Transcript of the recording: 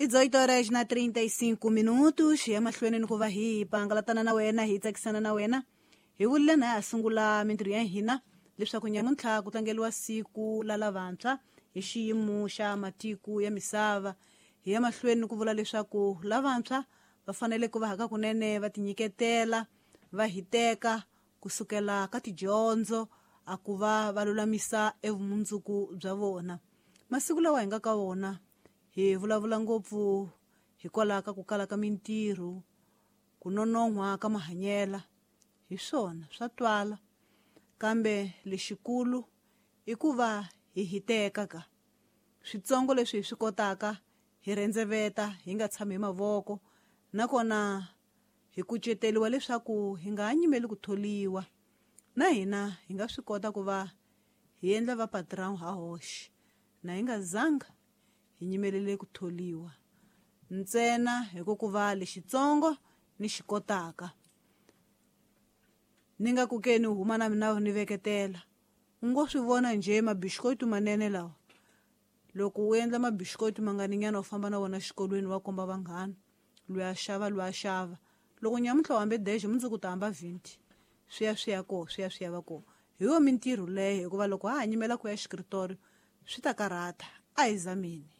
18 horas na 35 minutos. Hi ya mahlweni ni ku va hi pangalatana na wena, hi tsakisana na wena. Hi vurile na ha sungula mintirho ya hina leswaku nyamuntlha ku tlangeriwa siku la lavantshwa hi xiyimo xa matiko ya misava. Hi ya mahlweni ni ku vula leswaku lavantshwa va fanele ku va haka kunene va tinyiketela, va hiteka kusukela ka tidyondzo a ku va va lulamisa evumundzuku bya vona. Masiku lawa hi nga ka wona hi vulavula ngopfu hikwalaho ka ku kala ka mintirho, ku nonon'hwa ka mahanyela. Hi swona swa twala, kambe lexikulu i ku va hi hiteka ka switsongo leswi hi swi kotaka, hi rhendzeveta, hi nga tshami hi mavoko, nakona hi kuceteriwa leswaku hi nga ha nyimeli ku tholiwa. Na hina hi nga swi kota ku va hi endla va patron ha hoxe, na hi nga zanga hi nyimelele ku tholiwa ntsena hi ku va lexitsongo ni xi kotaka. Ni nga ku ke ni huma na mina ni veketela, u ngo swi vona njhe mabixikotu manene lawa. Loko u endla mabixikotu manganinyana u famba na wona xikolweni wa komba vanghana, loyi a xava, loyi a xava. Loko nyamuntlha u hambe 10, mundzuku u ta hamba 20. Swi ya swi ya koho, swi ya swi ya va koho. Hi yo mintirho leyo, hikuva loko ha ha nyimela ku ya xikritori swi ta karhata. A hi zameni.